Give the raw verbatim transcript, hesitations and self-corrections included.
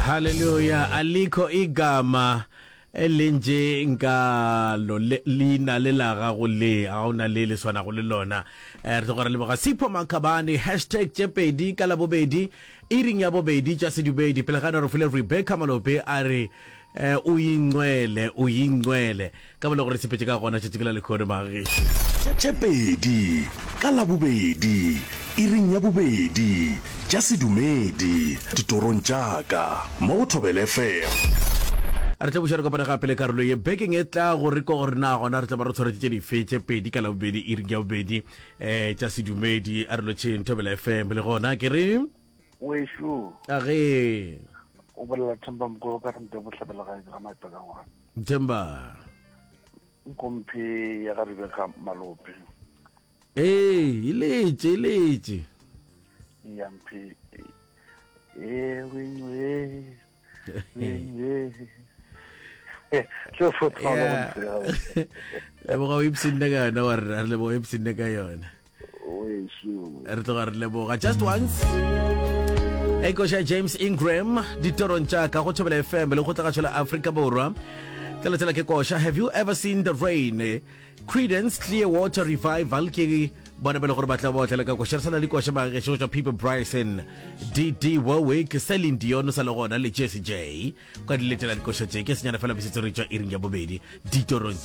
Haleluya alikho igama elinje nkalo le- leina le la gago le ga o na le le swanago le lona. Eh, re tloga re leboga Sipho Makhabane hashtag tše pedi ka labobedi iring ya bobedi tša sedumedi pele ga re file Rebecca Malope a re eh, o ingcwele o ingcwele ka bole gore sepetse ka gona tšatši ke la lekhono magešo. Tše pedi ka Labobedi, iring ya bobedi, tša sedumedi, ditorong tša ka, mo go Thobela F M. Re tla buša re kopane gape le karolo ye bekeng e tla go re ko gore na gona re tla ba re tshwaretse tše dife tše pedi ka Labobedi iring ya bobedi um tša sedumedi. A re lotšheng Thobela F M le gona ke re Wešo. A ge. O bolela Themba Mokolo ka rente bohlabela gae ga maeta ka ngwana. Themba. Nkomphe ya ga Rebecca Malope. Ee, e letše e letše. Ya mphe e wengwe wengwe. Yeah. Leboga o ipshinne ka yona wa rena, re leboga o ipshinne ka yona. Wešo. Re tloga re leboga. Just Once e koša James Ingram ditorong tša ka go Thobela F M le go tlagatšo la Afrika Borwa. Tla ke koša Have You Ever Seen the Rain, Creedence Clearwater Revival ke bona ba le gore ba tla ba otlela ka koša. Re sa na le koša magešo go tšwa People Bryson, D D Warwick, Celine Dion sa le gona le Jesse J ka di letela dikoša tše ke senyana fela besetse re tšwa iring ya bobedi ditorong tša